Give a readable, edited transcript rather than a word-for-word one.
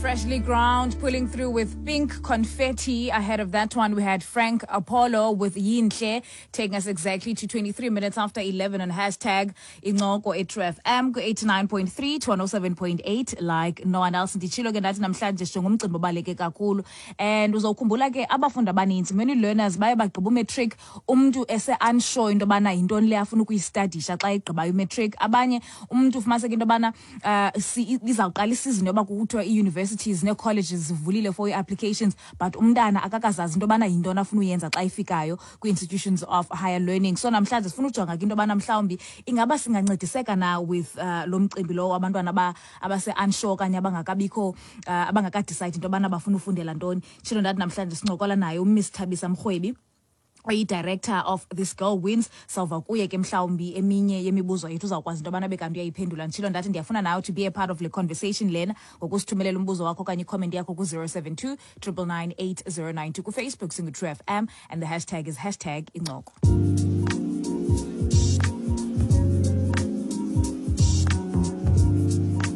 Freshly Ground pulling through with Pink Confetti. Ahead of that one, we had Frank Apollo with Yinhle, taking us exactly to 23 minutes after 11 on hashtag Incoko eTrue FM ku-89.3 to 107.8 like no one else. Nditshilo ke ndathi namhlanje sijonga umcimbi obaluleke kakhulu and uzawukhumbula ke abafundi abaninzi, many learners baye bagqiba umatric umntu ese-unsure into yobana yintoni le afuna ukuyistadisha xa egqibayo umatric. Abanye umntu ufumaniseka into yobana izawuqala isizini yoba kuthiwa ii-universities nee-colleges zivulile for ii-applications, but umntana akakazazi into yobana yintoni afuna uyenza xa ifikayo kwii-institutions of higher learning. So namhlanje sifuna ujonga ke into yobana mhlawumbi ingaba singancediseka na with lo mcimbi lowo, abantwana abase-unsure okanye abangakabikho abangakadicide into yobana bafuna ufundela ntoni. Tshilo ndathi namhlanje sincokola naye uMiss Thabisa Mrwebi, oyi-director of This Girl Wins. Sawuva kuye ke mhlawumbi eminye yemibuzo yethu, uzawukwazi into yobana bekanti uyayiphendula. Nditshilo ndathi ndiyafuna nawe to be a part of le conversation lena ngokusithumelela umbuzo wakho okanye icomment yakho ku-072 999 8092. KuFacebook singu-True FM and the hashtag is #Incoko.